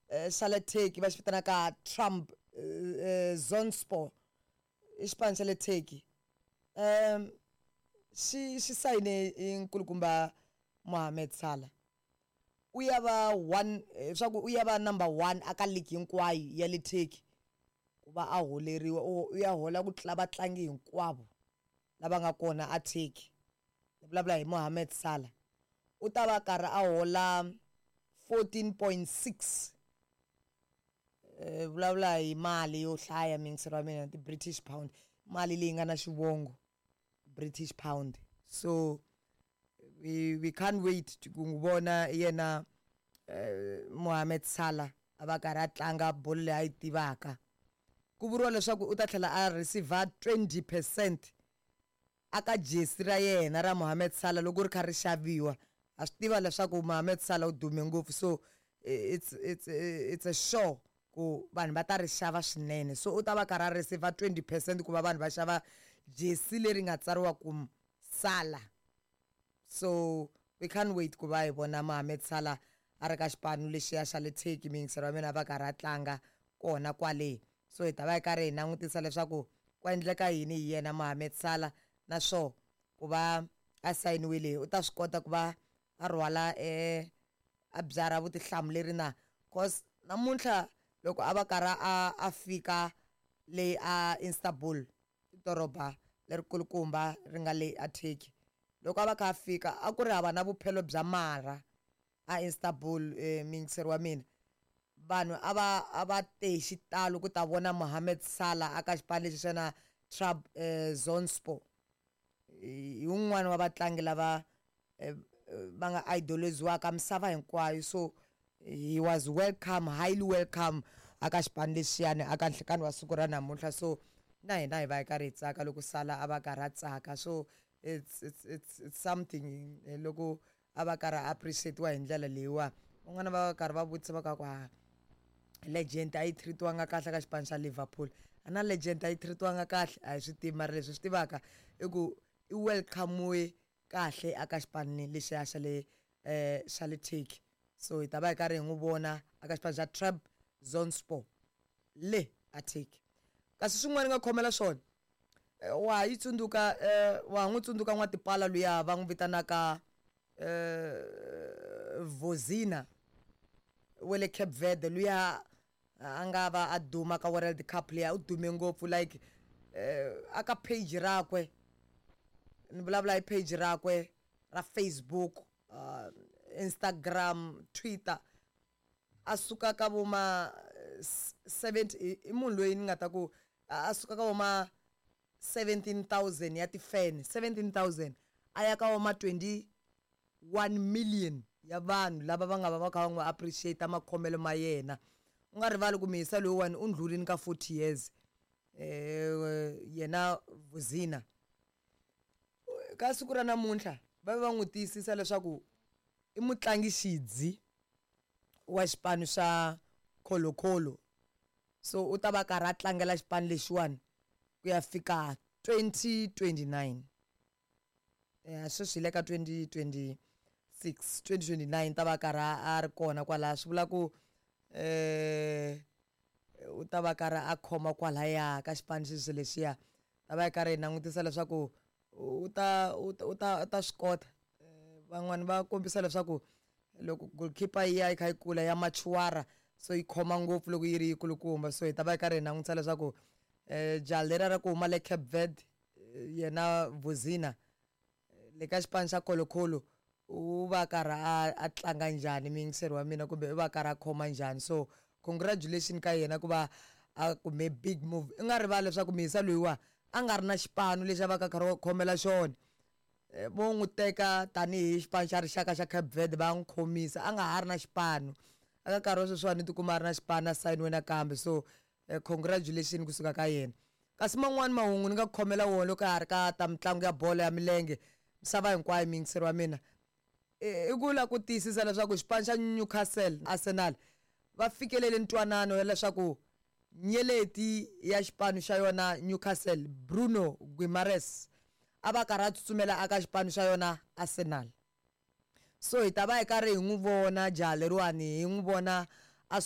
xa le Turkey va xi vitanaka Trump Zonspor i xipano xa le Turkey xi xi sayine i nkulukumba Mohamed Salah u ya va one swa ku u ya va number one aka league hinkwayo ya le Turkey ku va a holeriwa u ya hola ku tlula vatlangi hinkwavo lava nga kona a Turkey ni vulavula hi Mohamed Salah u ta va karhi a hola 14.6 vulavula hi mali yo hlaya miyingiselo wa mina ti-British pound mali leyi nga na xivongo British pound so we can't wait ku n'wi vona yena Mohamed Salah a va karhi a tlanga bolo leyi a yi tivaka ku vuriwa leswaku u ta tlhela a receive 20% aka jesi ra yena ra Mohamed Salah loko ri kha ri xaviwa ha swi tiva leswaku Mohamed Salah u dume ngopfu so it's a show ku vanhu va ta ri xava swinene so u ta va karhi a receive 20% ku va vanhu va xava jesi leri nga tsariwa ku Salah so we can't wait ku va hi vona Mohamed Salah a ri ka xipano lexiya xa le Turkey miyingiselo wa mina va karhi a tlanga kona kwale so hi ta va hi karhi hi langutisa leswaku ku endleka yini hi yena Mohamed Salah naswo ku va a sayiniwile u ta swi kota ku va a rhwala a byarha vutihlamuleri na cause namuntlha loko a va karhi a fika le a Istanbul doroba lerikulukumba ri nga le a Turkey loko a va kha a fika a ku ri hava na vuphelo bya marha a Istanbul miyingiseri wa mina vanhu a va te hi xitalo ku ta vona Mohamed Salah aka xipano lexi xa na Trabzonspor hi wun'wani wa vatlangi lava va nga idoliziwaka misava hinkwayo so he was welcome, highly welcome aka xipano lexiyani aka nhlikani wa siku ra namuntlha so na hina hi va hi karhi hi tsaka loko Salah a va karhi a tsaka so it's something loko a va karhi a appreciate-wa hi ndlela leyiwa van'wana va karhi va vutisa va ka ku ha legend a yi treat-iwanga kahle ka xipano xa Liverpool a na legend a yi treat-iwanga kahle a hi swi tivi mara leswi swi tivaka i ku i welcome kahle aka xipano lexiya xa le Turkey so hi ta va hi karhi hi n'wi vona aka xipano xa Trabzonspor le a Turkey kasi swin'wana nga khomela swona wa yi tsundzuka wa n'wi tsundzuka n'watipala luya va n'wi vitanaka Vozinha wa le Cape Verde luya a nga va a duma ka World Cup liya u dume ngopfu like aka page rakwe ni vulavula hi page rakwe ra Facebook, Instagram, Twitter a suka ka vo ma 70 i munhu loyi ni nga ta ku a suka ka vo ma 17,000 ya ti-fan 17,000 a ya ka vo ma 21 million ya vanhu lava va nga va va kha va n'wi appreciate makhomelo ma yena u nga rivali ku miyisa loyiwani u ndlulini ka 40 years yena Vozinha ka siku ra namuntlha va va n'wi tiyisisa leswaku i mutlangi xidzi wa xipano xa Colo-Colo so u ta va karhi a tlangela xipano lexiwani ku ya fika 2029 ya sweswi hi le ka 2026 2029 ta va karhi a ri kona kwalaha swi vula ku u ta va karhi a khoma kwalaya ka xipano xexo lexiya ta va yi karhi hi langutisa leswaku u ta swi kota van'wani va kombisa leswaku loko goalkeeper yi ya yi kha yi kula ya machuara so yi khoma ngopfu loko yi ri yikulukumba so hi ta va hi karhi hi langutisa leswaku jaha leriya ra ku huma le Cape Verde yena Vozinha le ka xipano xa Colo-Colo u va karhi a tlanga njhani muyingiseri wa mina kumbe u va karhi a khoma njhani so congratulation ka yena ku va a kume big move i nga rivali leswaku muyisa loyiwa a nga ri na xipano lexi a va ka karhi khomela xona vo n'wi teka tanihi xipano xa rixaka xa Cape Verde va n'wi khomisa a nga ha ri na xipano aka nkarhi wa sweswiwani tikuma a ri na xipano a sayiniwe nakambe so congratulation kusuka ka yena kasi man'wani mahungu ni nga ku khomela wona loko ha ri ka ta mitlangu ya bolo ya milenge misava hinkwayo muyingiseri wa mina i ku la ku tiyisisa leswaku xipano xa Newcastle Arsenal va fikelele ntwanano ya leswaku nyeleti ya xipano xa yona Newcastle Bruno Guimaraes a va karhi a tsutsumela aka xipano xa yona Arsenal so hi ta va hi karhi hi n'wi vona jaha leriwani hi n'wi vona a.